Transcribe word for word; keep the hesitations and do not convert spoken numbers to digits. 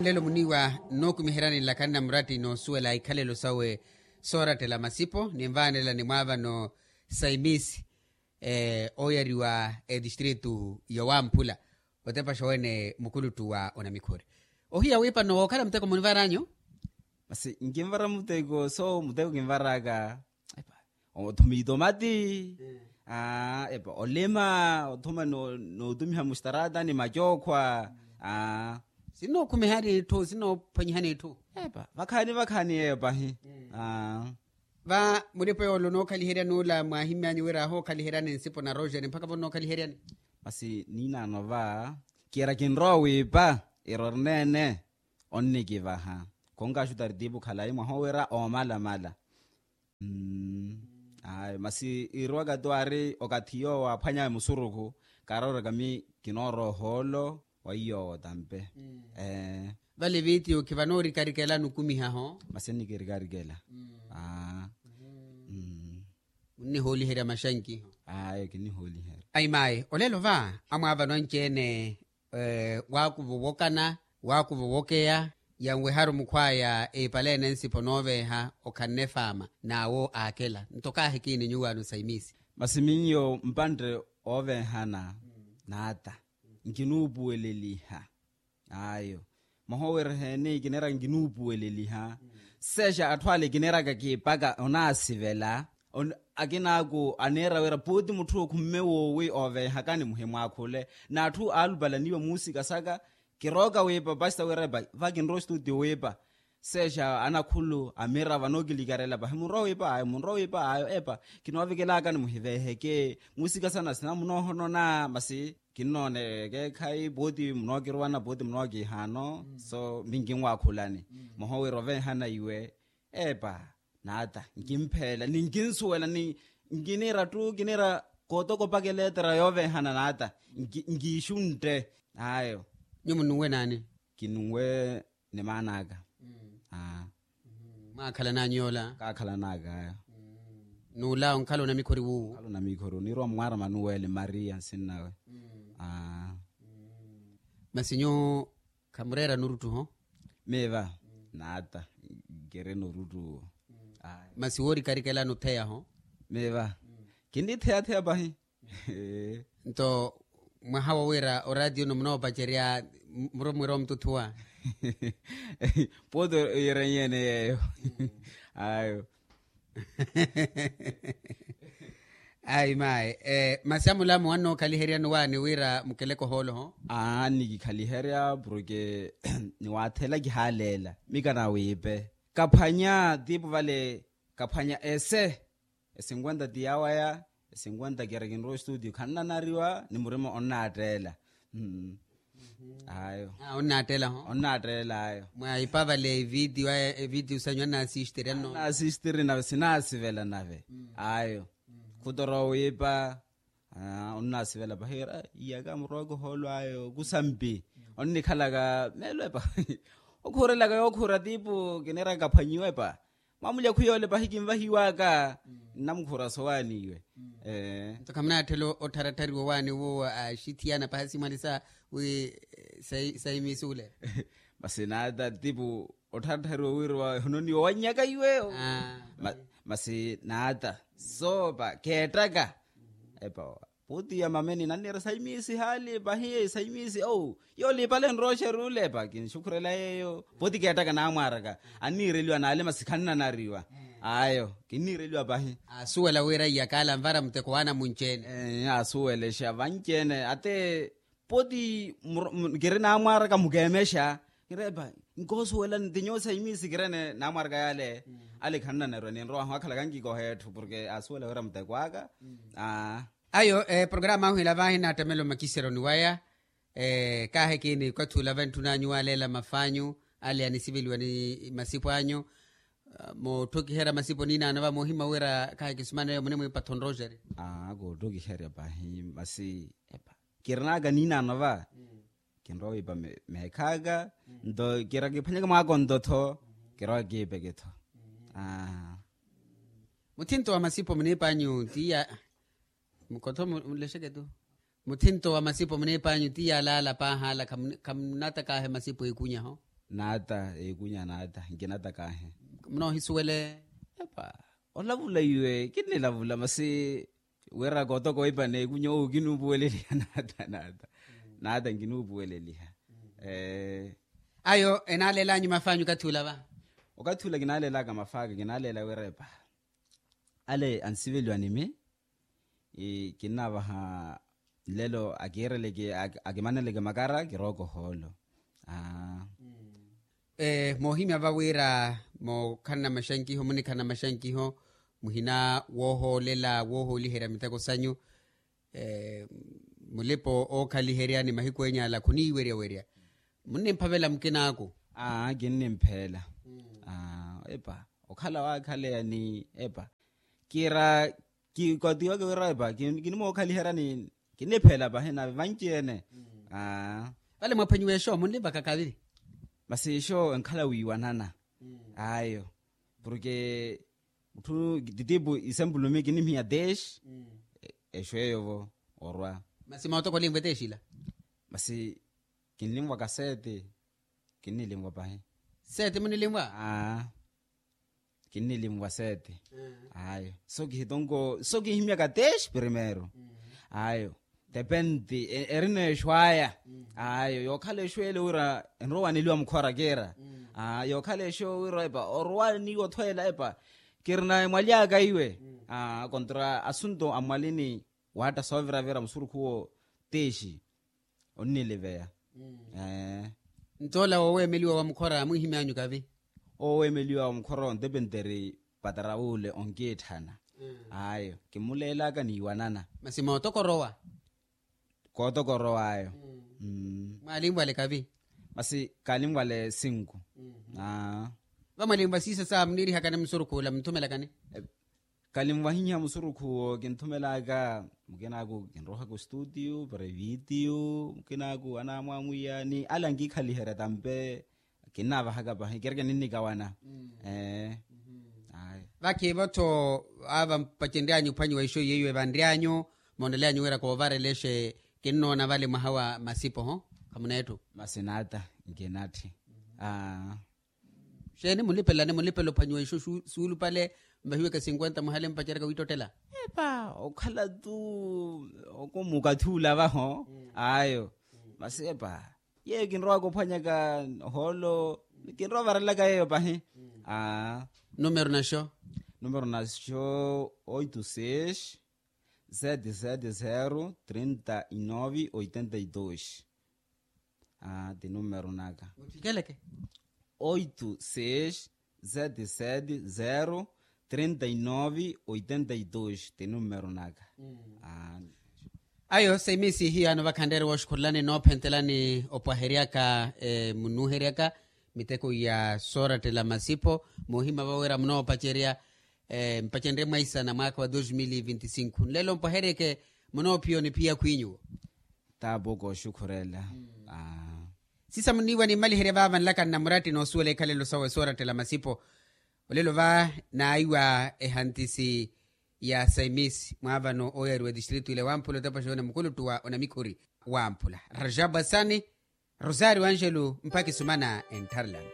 Lelo muniiwa nnookumiheryani nlakani na muratti noosuwela ikhalelo sawe soorattela masipo ninvaanela nimwaavano saimisi ooyariwa etistritu yowamphula otepaxa wene mukuluttu wa onamikhori. Ohiya wiipa nno wookhala muteko munivaranyu? Masi nkinvara muteko so muteko kinvaraka epa othuma itomati. Aa epa olima othuma nootumiha mustaraata ni macookhwa. Aa sinnookhumihani itthu sinnoophwanyihani itthu. Epa vakhaani vakhaani eyo pahi. Aa va mulipa yoole onookhaliheryani ola mwaahimy'anyu wira ahookhaliheryani nsipo na roxeri mpakha vo nnookhaliheryani. Masi niinaano va kiira kinrowa wiipa ira orineene onnikivaha. Khonkaxutari tiipu khalayi mwaha owira oomalamala. Ayo masi iirowaka tu aari okathi yoowo aaphwanyawe musurukhu kaarooraka mi kinoorowa ohoolo wa iyoowo tampe. Vale vitiyo khivanoorikarikelani okumihaho. Masi ennikirikarikela. Aa. Munnihooliherya maxankiho. Ayo kinnihooliherya. Ayi mayi olelo va amwaavano anci-ene waakuva owokana waakuva owokeya yanweharu mukhwaya eipala ene nsipo nooveeha okhanne faama n'awo aakela nto kaahi kiini nyuwaano saimisi. Masi miyo mpantte ooveehana n'ata nkinuupuweleliha. Ayo mwaha owereheeni kineeraka nkinuupuweleliha. Seexa atthu ale kineeraka kiipaka onaasivela akinaaku aneera wira puuti mutthu okhumme woowi ooveehakani muhimwaakhule. N'atthu aalupalaniwa muusikasaka kirooka wiipa pasta wira epa va kinrowa ostuti wiipa. Seexa anakhulu amira vanookilikharela pahi munrowa wiipa ayo munrowa wiipa ayo epa kinoovikelaakani muhiveeheke. Muusikasana sina munoohonona masi kinnooneke ekeekhayi pooti munookiruwana pooti munookiihaano. So minkinwaakhulani mwaha owira oveehana iwe epa n'ata nkimpheela ni nkinsuwela ni nkiniira ttu kiniira kootokopaka eleetera yooveehana n'ata nkiixuntte. Ayo nyuwo munnuwe naani? Kinnuwe ni maan'aka. Aa mwaakhalan'anyu yoola kaakhalan'aka ayo. N'ula onkhala onamikhori wuuwu onkhala onamikhori oniirwa mmwaara manuweli maria nsinnawe. Aa masi nyuwo khamureera nuruttuho? Miiva n'ata nkirina oruttuwo. Masi woorikarikelani otheyaho? Miiva kinnitheyatheya pahi. Nto mwaha wo wira oraatiyo-no munoopacerya muromwira omututhuwa? Pooti oyiranyi-ene yeeyo. Ayo ayi mayi. Masi amulamu wannookhaliheryani waani wira mukeleke ohooloho? Aa nnikikhaliherya porke niwaathela kihaaleela mika nawiipe kaphwanya tiipu vale kaphwanya ese. Esinkwenta ti yawaya esinkwenta kira kinrowa estudio khannanariwa ni murima onnaatteela. Ayo onnaattelaho onnaattela ayo. Mwa ipavale evitiyo aya evitiyo sanyu annaasistiri anno annaasistiri na sinaasivela nave. Ayo khutorowa wiipa. Onnaasivela pahi ira iyaka murowaka ohoolo ayo kusampi onnikhalaka meelo epa okhuurelaka yookhuura tiipu kineeraka kaphwanyiwa epa. Mwamulya khwiyoole pahi kinvahiwaka nnamukhuura sowaani iwe. Nto khamunaatthela ottharatthariwa owaani wuwo axithiyana pahi asimwalisa wi saimisi ule. Masi naata tipu ottharatthariwa wira wahononiwa wannyaka iwe. Masi naata soopa keettaka epa pooti ya mameni nanniira saimisi haali pahi saimisi ou yoolipale nroxeri ule epa kinxukhurela yeeyo pooti keettaka naamwaaraka anniireliwa naale masi khannanariwa. Ayo kinniireliwa pahi. Asuwela wira iyakaala anvara muteko waana munci-ene. Asuwelexa vanci-ene ate pooti kiri naamwaaraka mukeemexa kiri epa nkoosuwelani ti nyuwo saimisi kirene naamwaaraka yaale. Ale khannanariwa ninrowahu akhalaka nkikoha etthu porke asuwela wira muteko aka. Ayo programa ahu ila vahi naattamela omakiseroni waya. Kaahi kiini kwathula vantthun'anyu waaleela maf'anyu ale anisiveliwa ni masipo anyu. Mootthokiherya masipo niinaano va moohimya wira khaakisumaneyo munemwiipatho nroxeri. Aa kootthokiherya pahi masi epa kirin'aka niinaano va kinrowa wiipa meekhaaka nto kira kiphwanyeke mwaaka onto-tho kirowa kiipeke-tho. Muthinto wa masipo muniip'anyu tiya mukotho mulexeke-tu. Muthinto wa masipo muniip'anyu tiya alaala paahaala khamunattakaahe masipo iikunyaho. Naata ekunya naata nkinata kahe. Munoohisuwele? Epa, olavula iwe kinnilavula masi wira kootoka oipa n'ekunya owo kinuupuweleliha naata naata naata nkinuupuweleliha. Ayo enaalelanyu maf'anyu okathi ula va? Okathi ula kinaaleelaka maf'aka kinaaleela wira epa ale ansiveliwa nimi. Kinnavaha nlelo akiireleke akimaneleke makara kirooka ohoolo. Moohimya va wira mookhalana maxankiho munikhalana maxankiho muhina woohoolela woohooliherya miteko sanyu. Mulipa ookhaliherya ni mahiku enya ala khuniiweryawerya. Munnimphavela mukinaaku? Aa kinnimpheela. Epa okhala waakhaleya ni epa kiira kikatiweke wira epa kinimookhaliheryani. Kinnipheela pahi nave vanci-ene. Vale mwaphwanyiwa exo munlivaka kaviri? Masi exo enkhala wiiwanana. Ayo porke mutthu titipu isempulumi kinnihiya teshi. Exo eyo vo orwa. Masi mootoko olinvwa eteshi ila? Masi kinlinvwaka sete. Kinnilinvwa pahi. Sete munilinvwa? Aa kinnilinvwa sete. Ayo so kihitonko so kihimyaka teshi primeiro. Ayo depende erina exo aya. Ayo yookhala exo ele wira enrowa waneliwa mukhora kiira. Aa yookhala exo wira epa orowa niiwo othweela epa kirina emwali aka iwe. Aa kontra asunto amwalini waatta sooviravira musurukhuwo teshi. Onniliveya. Nto ola wooweemeliwa wa mukhora mwiihimyanyu kavi? Oweemeliwa wa mukhora ontepenteri pataraule onkiitthana. Ayo kimuleelaka niiwanana. Masi mootokorowa? Kootokorowa ayo. Mwaalinvwale kavi? Masi kaalinvwale sinku. Aa vamwalinvwa siisa saa muniirihakani musurukhu ula munthumelakani? Kalinvahinya musurukhu owo kinthumelaka mukinaaku kinrohaka ostutiu para evitiyu mukinaaku anaamwamwiya ni ala nkikhaliherya tampe. Kinnavahaka pahi kireke ninnikawana. Ee. Vakiivo-tho ava mpacenryanyu ophwanyiwa ixo yeiwe vanryanyu moonelyanyu wira koovarelexe. Kinnoona vale mwaha wa masipo ho khamuneettu? Masi naata nkinatthi. Aa. Xeeni munlipelelani munlipela ophwanyiwa ixo suulupale? Mvahiweke sinkwenta muhale mpaceraka wiittottela. Epa okhala tu okomukathi ula vaho. Ayo masi epa yeyo kinrowaka ophwanyaka ohoolo. Kinrowa varelaka yeyo pahi. Aa. Numero naxo? Numero naxo oito seis sete sete zero trinta e nove oitenta e dois. Aa ti numero naka. Muthikeleke. Oito seis sete sete zero trinta e nove oitenta e dois ti numero naka. Ayo saimisi hiyaano vakhanreere wooxukhulelani noophentelani opwaheryaka munuuheryaka miteko ya soorattela masipho. Moohimya vawira munoopacerya mpacenrye mwaisana mwaakha wa dos mil vinti cinco nlelo mpwaheryeke. Munoophiya oniphiya khwinyuwo. Taapoko oxukhurela. Siisa muniiwa nimmaliherye vaava nlaka nnamuratti noosuwela ikhalelo sawe soorattela masipo. Olelo va naaiwa ehantisi ya saimis mwaavano ooyariwa etistritu ile wamphula otepa xoonya mukuluttu wa onamikhuri wamphula. Rajabu asani, rosario angelo mpakhi sumana enttharelani.